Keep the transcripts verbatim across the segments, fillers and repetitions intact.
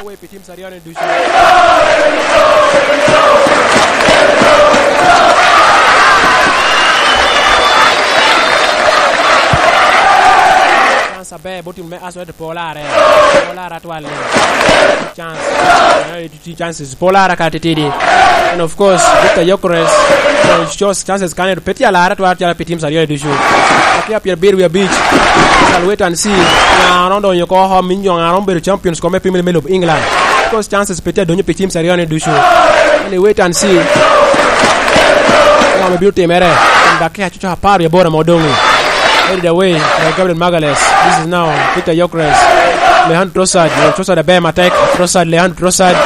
Pi teams aryo-ni ducu. Chance aber bot team me Aswad, pol are. Pol are atwal ni. Chance. Ti chances. Pol are ka titidi. And of course, Victor Gyökeres, uh, shows chances kane, pe tye alar atwal calo pi teams aryo-ni ducu. Akia pyerabiro wiye abic. Shall wait and see. Ŋa romo donyo oko, min jo ŋa romo bedo champions kome Premier League of England. Because chances pe tye adonyo pi teams aryo-ni ducu. Only wait and see. Ŋo ame bino timere? Kun dakika coco apar wie aboro ame odoŋ. Headed away by Gabriel Magalhaes. This is now Victor Gyökeres. Leandro Trossard. Trossard aber matek. Trossard, Leandro Trossard.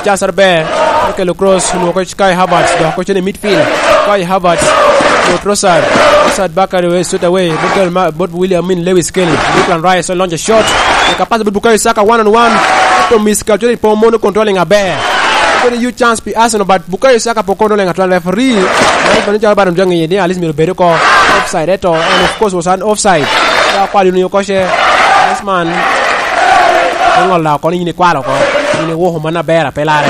Charles aber. Okelo cross. Onwoŋo Kai Havertz. Dok ocito i midfield. Kai Havertz. Onwoŋo Trossard. Trossard back away, straight away. Bot Gabriel Ma-, bot William, I mean, Lewis Skelly. Declan Rice, so launch a shot. Eka pass bot Bukayo Saka one on one. To miss ka, cwero ipo mono controlling aber. Very huge chance pi Arsenal, but Bukayo Saka po controlling atwal. Referee, man pa ni calo bado jwaŋ iye ni at least myero bed oko offside, eto, and of course was an offside. Ka kwalo ni oko ce, this man, iŋola oko ni in ikwalo oko. In iwoko man aber, ape lare.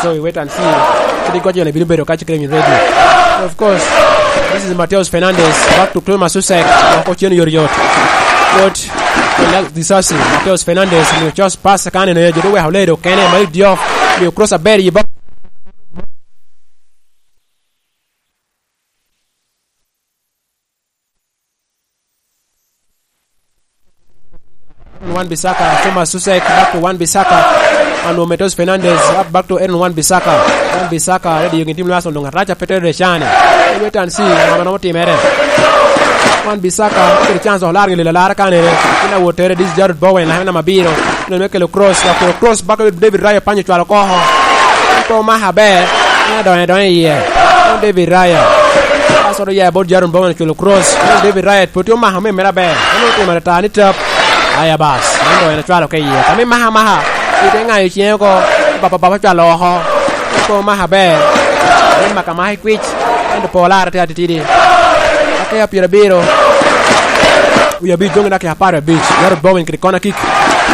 So we wait and see. Kadi goc yone bino bedo ka cikere in ready. And of course, this is Mateus Fernandes, back to Thomas Susek, oko cen yoryot. Yot, Disasi, Mateus Fernandes, onwoŋo Charles pass kan eno, jo dok oweko ledo kene, Malik Diouf, miyo cross aber i box. Wan Bissaka, Thomas Susek, back to Wan Bissaka. Onwoŋo Mateus Fernandes, up back to Aaron Wan Bissaka. Wan Bissaka, ready, gin tim lo Arsenal doŋ arac a pe tere cane. Wait and see, ŋo ame romo timere. Wan Bissaka, kede chance dok lar ŋe lelo alara kanere. Ina wot tere, this Jarrod Bowen, lakana namba abiro. Neno me kelo cross, dok kelo cross back to David Raya, panyo cwalo oko. Pe omako aber, en adonyo, adonyo iye. David Raya. Pass oto ya bot Jarrod Bowen, ocwalo cross. David Raya pwod tye omako me mere aber. En otimo ata ni tap. Aya bas, en doŋ en ocwalo ka iye. Ka me maka maka, ite ŋayo ciŋe oko, bapa bapa ocwalo oko. Pe omako aber. En maka maka i kwic. Ento pe olarre tye atitidi. Dakika pyerabiro. Wie abic doŋ i dakika apar abic. Jarrod Bowen kede kona kick.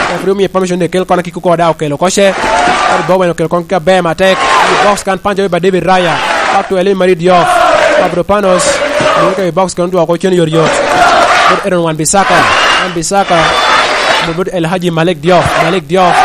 Referee omiye permission ni ekel kona kick oko, daŋ okelo oko ce. Jarrod Bowen okelo kona kick aber matek. I box kan, panyo i ba David Raya. Back to Elin Marie Diouf. Mavropanos. Mio ka i box kan, otwoko cen yoryot. Bot Aaron Wan Bissaka. Wan Bissaka. Bot El Hadji Malik Diouf. Malik Diouf.